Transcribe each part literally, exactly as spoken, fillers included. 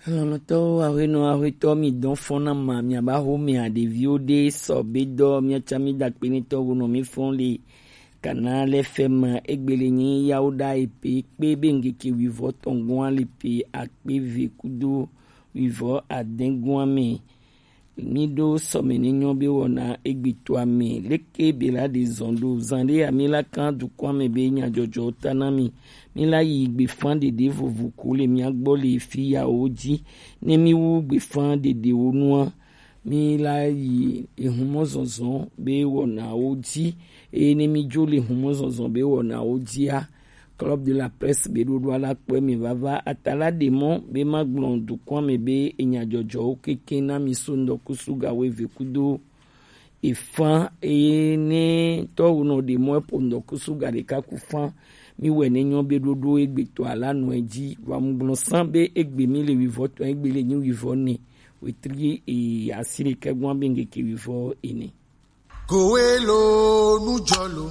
Lɔlɔ̃tɔwo, aƒenɔ, aƒetɔ, mi dɔn fɔn na ma, mi aba ho mi a ɖeviwo ɖe sɔ be dɔ, mi atsa mi da kpe ne tɔ wo nɔ mi fɔn le kana lɛ fɛ ma egbele nyi yawo ɖa epe kpe be ŋgeke wivɔ tɔn gɔn le pe akpe ve kudo wivɔ adɛn gɔn me. Mi ɖo sɔmɛ ne nyɔ be wɔna egbetɔ ame leke be la ɖe zɔn ɖo zan ɖe ami la kan dukɔ ame be nyadzɔdzɔ ta na mi. Mi la yi gbefan ɖeɖe vovo ko le mia gbɔ le fi yawo dzi. Ne mi wu gbefan ɖeɖewo nua, mi la yi ehumɔ zɔzɔ be wɔnawo dzi. Eye ne mi dzo le ehumɔ zɔzɔ be wɔnawo dzia, Club de la Presse be ɖoɖo ala kpɔe mi vava. Atala ɖe mɔ be ma gblɔ dukɔ ame be enyadzɔdzɔwo keke na mi so ŋdɔkusu gawo eve kudo efan, eye ne tɔwo nɔ ɖe mɔ epo ŋdɔkusu ga ɖeka ku fan. Mi wɛ ne nyɔ be ɖoɖo egbetɔ ala nɔ edzi wa mu gblɔ san be egbe mi le wivɔ tɔn egbe le nyi wivɔ ne wetri e asi ɖeka gɔn be ŋgeke wivɔ ene. Kowe lo nujɔ lo.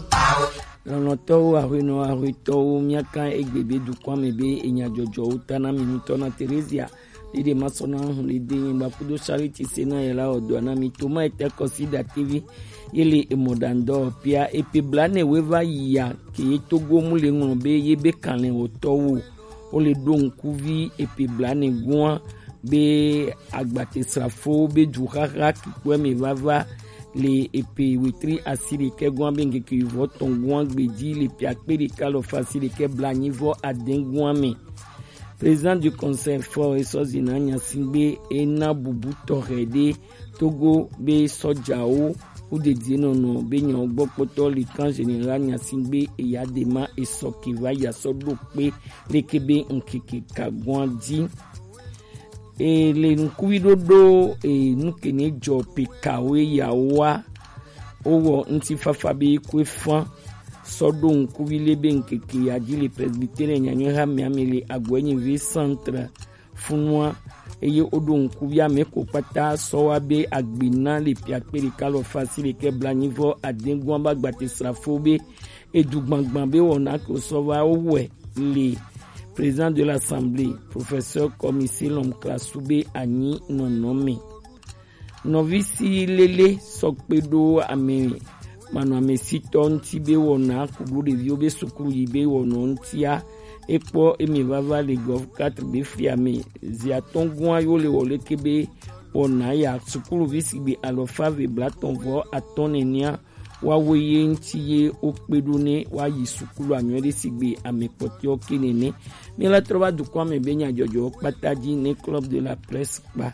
Lɔlɔ̃tɔwo, aƒenɔ, aƒetɔwo, miaka egbe be dukɔa me be enyadzɔdzɔwo ta na mi ŋutɔ na Terezia ɖeɖe masɔ na hu le de nyigba kudo Charity se na yela ɔdɔ na mi toma ete kɔsi da T V ye le emɔɖaŋdɔ pia epe bla ne we va yi ya ke ye Togo mu le ŋlɔ be ye be kanlɛ wotɔwo. Wo le ɖo ŋkuvi epe bla ne gɔa be agbatesrafo be duxaxa kikpɔe me vava le epe wetri asi ɖekɛ gɔa be ŋkeke wivɔ tɔn gɔa gbedzi le pe akpe ɖeka alɔfa asi ɖekɛ bla nyi vɔ adɛn gɔa me. Président du Conseil fort esɔ zina nyasigbe ena bubu tɔxɛ ɖe Togo be sɔjawo wo dedienɔnɔ be nyawo gbɔ kpɔtɔ le kan général nyasigbe eya de ma esɔ ke va ya sɔ ɖo kpe leke be ŋkeke ka gɔa dzi. E le ŋkuvi ɖoɖo e nu ke ne dzɔ pe kawo ya wa wo wɔ ŋutifafa be kue fan sɔ ɖo ŋkuvi le be ŋkeke ya dzi le presbytere nyanyɔ ha mia me le agɔe nyi vi centre funua eye woɖo ŋkuvi ame ko kpata sɔ wa be agbena le pia kpe ɖeka alɔfa asi ɖekɛ bla nyi vɔ adɛn gɔa ba gbate srafo be edu gbangban be wɔna ke sɔ va wo wɛ le président de l'assemblée professeur Commissaire Lomklasu be anyi nɔnɔme. Nɔvi si lele sɔ kpe ɖo ame manɔ amesitɔ ŋuti be wɔna kuɖo ɖeviwo be sukulu yi be wɔnɔ ŋutia ekpɔ emi vava le gɔv quatre be fia me zi atɔ̃ gɔa yo le wɔ leke be wɔna ya sukuluvi sigbe alɔfa ve blatɔ̃ vɔ atɔ̃ nenia wa wo ye ŋuti ye wo kpe ɖo ne wa yi sukulu anyɔ ɖe sigbe ame kpɔtɔewo ke nene. Mi la trɔ va dukɔ ame be nyadzɔdzɔ kpata dzi ne Club de la Presse kpa.